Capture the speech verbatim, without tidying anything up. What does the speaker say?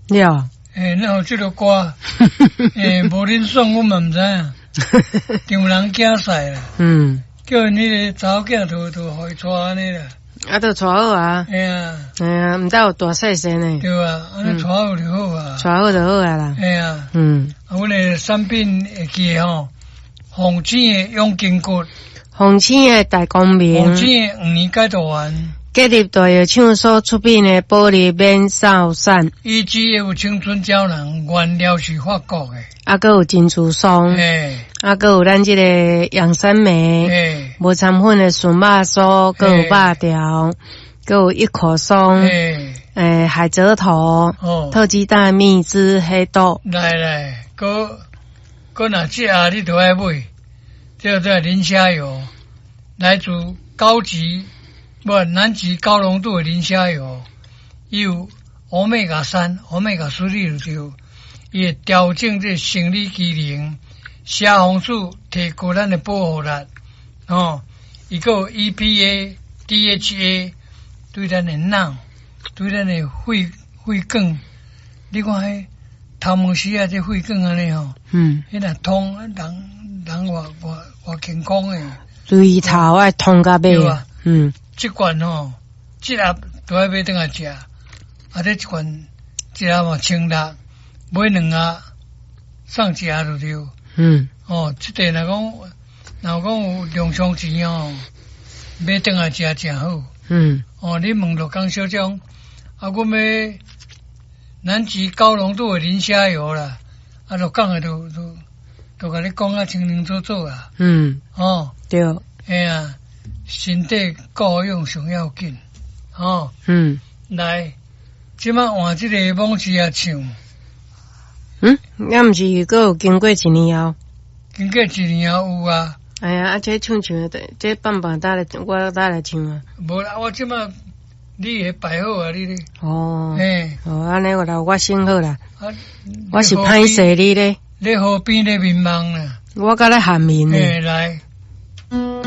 了。欸，哪有這个歌？欸，無恁選，阮嘛毋知影。丈人囝婿啦。嗯。叫𪜶彼个查某囝就就予伊娶按呢啦。啊，就娶好啊。嘿啊。嘿啊，毋知有大細細呢。對啊，按呢娶好就好啊。娶好就好啊啦。嘿啊。嗯。啊，阮的產品會記得吼，鳳醒的養筋骨，鳳醒的大光明，鳳醒的黃連解毒丸，吉立大藥廠所出品的保利免掃散，以及有青春膠囊，原料是法國的，啊，閣有珍珠霜，嘿，啊，閣有咱這个養生酶，嘿，無摻粉的純肉酥，閣有肉條，閣有一口松，嘿，欸，海蜇頭，哦，特雞蛋蜜汁黑豆，來來，閣閣若這盒你都愛買，這個磷蝦油，來自高級無南極高濃度的磷蝦油，伊有歐米伽三、歐米伽四就對，伊會調整這生理機能，蝦紅素提高咱的保護力，哦，伊閣有 E P A、D H A 對咱的腦、對咱的血血管，你看彼頭毛絲啊，這血管按呢吼，嗯，彼若通人人偌偌偌健康的，對頭愛通到尾，嗯，這罐吼，這盒都愛買轉來食，啊，這一罐一盒嘛千六，買兩盒送一盒就對。嗯，哦，這個若講若講有量上錢哦，買轉來食誠好。嗯，哦，你問鹿港小將，啊，阮欲南極高濃度的磷蝦油啦，啊，鹿港的都都都共你講啊清清楚楚啊。嗯，哦，對，嘿啊，身體顧養上要緊，哦，嗯，來，這擺換這个網誌仔唱。嗯，抑毋是閣有經過一年後？經過一年後有啊。哎呀，啊，這唱唱的，這放放搭來，我搭來唱啊。無啦，我這擺你會擺好啊，你咧。哦。嘿。哦，按呢我來我先好啦。啊，我是歹勢你咧。你河邊咧眠夢啦。我佮咧喊眠呢。嘿，來。